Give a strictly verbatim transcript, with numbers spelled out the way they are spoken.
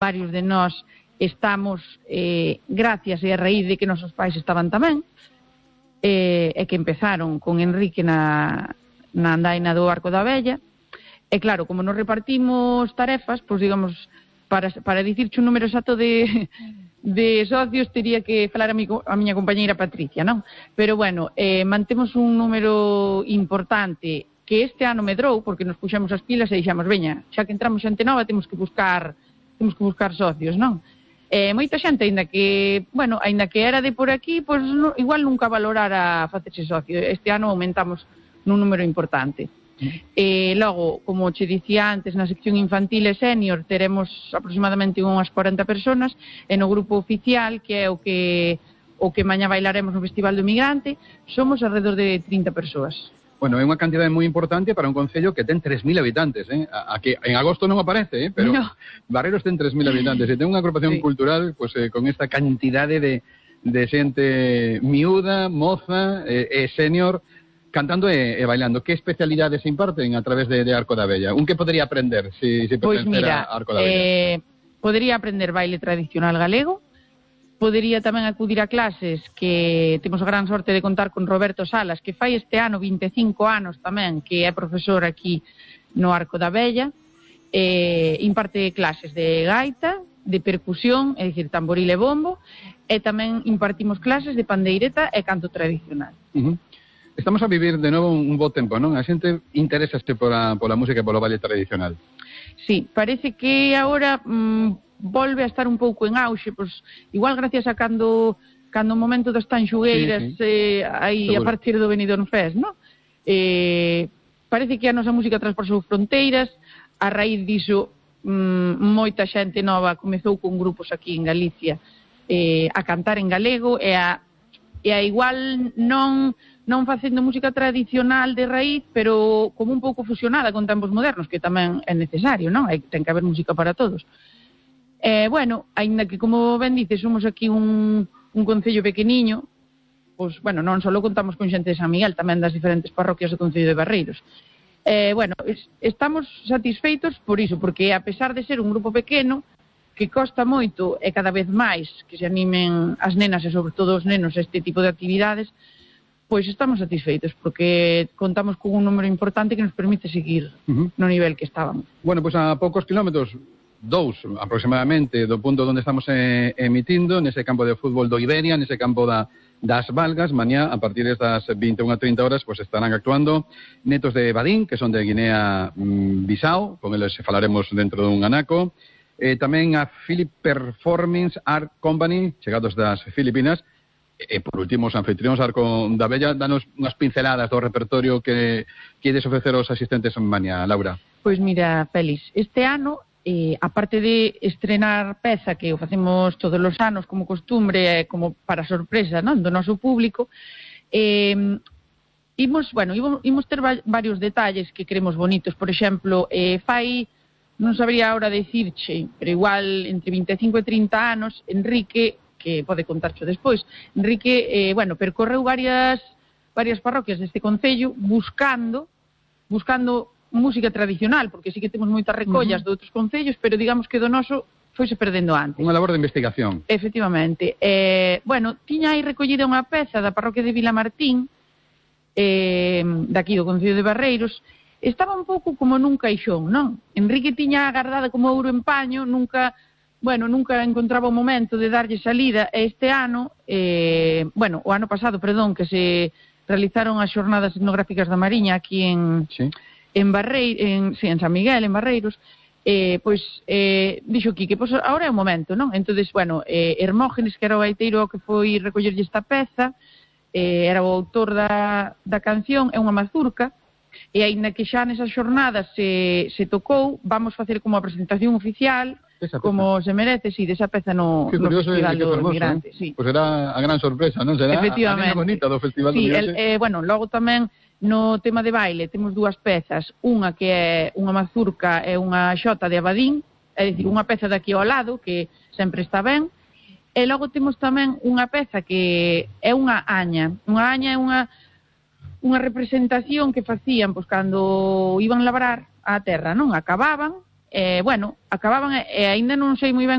varios de nós estamos eh, gracias e a raíz de que nosos pais estaban tamén, eh, e que empezaron con Enrique na, na andaina do Arco da Vella. E claro, como nos repartimos tarefas, pois digamos, para, para dicirche un número exacto de, de socios, teria que falar a, mi, a miña compañeira Patricia, non? Pero bueno, eh, mantemos un número importante que este ano medrou, porque nos puxamos as pilas e dixamos, veña, xa que entramos xente nova, temos que buscar temos que buscar socios, non? Eh, moita xente, aínda que, bueno, aínda que era de por aquí, pois no, igual nunca valorara facerse socio. Este ano aumentamos nun número importante. E logo, como che dicía antes, na sección infantil e senior teremos aproximadamente unhas cuarenta personas, e no grupo oficial, que é o que o que mañá bailaremos no Festival do Migrante, somos alrededor de trinta persoas. Bueno, é unha cantidade moi importante para un concello que ten tres mil habitantes, eh? A, a que en agosto non aparece, eh? Pero no. Barreiros ten tres mil habitantes e ten unha agrupación sí. cultural pues, eh, con esta cantidade de, de xente miúda, moza e, e senior cantando e, e bailando. Que especialidades se imparten a través de, de Arco da Vella? Un que podría aprender se si, si pues mira, a Arco da Vella? Eh, podría aprender baile tradicional galego. Podería tamén acudir a clases que temos a gran sorte de contar con Roberto Salas, que fai este ano vinte e cinco anos tamén, que é profesor aquí no Arco da Vella. Eh, imparte clases de gaita, de percusión, é dicir, tamboril e bombo, e tamén impartimos clases de pandeireta e canto tradicional. Uh -huh. Estamos a vivir de novo un bo tempo, non? A xente interesaste pola, pola música e polo baile tradicional. Sí, parece que agora... Mmm, volve a estar un pouco en auxe, pois igual gracias a cando cando o momento das tanxugueiras sí, sí. eh, aí Seguro. A partir do Benidorm Fest, non? Eh, parece que a nosa música transportou fronteiras, a raíz diso mm, moita xente nova comezou con grupos aquí en Galicia eh, a cantar en galego e a, e a igual non non facendo música tradicional de raíz, pero como un pouco fusionada con tempos modernos, que tamén é necesario, non? Hai, ten que haber música para todos. Eh, bueno, aínda que, como ben dices, somos aquí un, un concello pequeniño, pois, bueno, non só contamos con xente de San Miguel, tamén das diferentes parroquias do concello de Barreiros. Eh, bueno, es, estamos satisfeitos por iso, porque a pesar de ser un grupo pequeno, que costa moito e cada vez máis que se animen as nenas e sobre todo os nenos a este tipo de actividades, pois estamos satisfeitos, porque contamos con un número importante que nos permite seguir uh-huh. no nivel que estábamos. Bueno, pois a poucos kilómetros, dous aproximadamente do punto onde estamos eh, emitindo, nese campo de fútbol do Iberia, nese campo da, das Valgas, mañá a partir das vinte e unha a trinta horas pues estarán actuando netos de Badín, que son de Guinea mm, Bissau, con eles falaremos dentro dun anaco, eh, tamén a Philip Performance Art Company, chegados das Filipinas, e por último os anfitrións Arco da Vella. Danos unhas pinceladas do repertorio que queres ofrecer aos asistentes mañá, Laura. Pois mira, Félix, este ano Eh, aparte de estrenar peza que o facemos todos os anos como costumbre, eh, como para sorpresa, non, do noso público, eh, imos, bueno, imos, imos ter va varios detalles que queremos bonitos. Por exemplo, eh, fai, non sabría ahora decirche, pero igual entre vinte e cinco e trinta anos, Enrique, que pode contarcho despois, Enrique, eh, bueno, percorreu varias varias parroquias deste concello buscando buscando música tradicional, porque sí que temos moitas recollas uh -huh. de outros concellos, pero digamos que do noso foise perdendo antes. Unha labor de investigación. Efectivamente. Eh, bueno, tiña aí recollida unha peza da parroquia de Vilamartín, eh, daqui do concello de Barreiros. Estaba un pouco como nun caixón, non? Enrique tiña agardada como ouro en paño, nunca, bueno, nunca encontraba o momento de darlle salida, e este ano, eh, bueno, o ano pasado, perdón, que se realizaron as xornadas etnográficas da Mariña aquí en... Sí. en Barreiros, en, sí, en San Miguel, en Barreiros, eh, pois eh, dixo Quique, pois agora é o momento, non? Entonces, bueno, eh, Hermógenes, que era o gaiteiro que foi recollerlle esta peza, eh, era o autor da, da canción, é unha mazurca, e aínda que xa nesas xornadas se, se tocou, vamos facer como a presentación oficial, como se merece, si, sí, desa peza no, no Festival do Migrante. Eh? Sí. Pois será a gran sorpresa, non? Será a nena bonita do Festival do Migrante. Sí, el, eh, bueno, logo tamén no tema de baile temos dúas pezas, unha que é unha mazurca e unha xota de Abadín, é dicir, unha peza daqui ao lado que sempre está ben, e logo temos tamén unha peza que é unha aña. Unha aña é unha unha representación que facían pois cando iban labrar a terra, non? Acababan eh, bueno, acababan, e eh, aínda non sei moi ben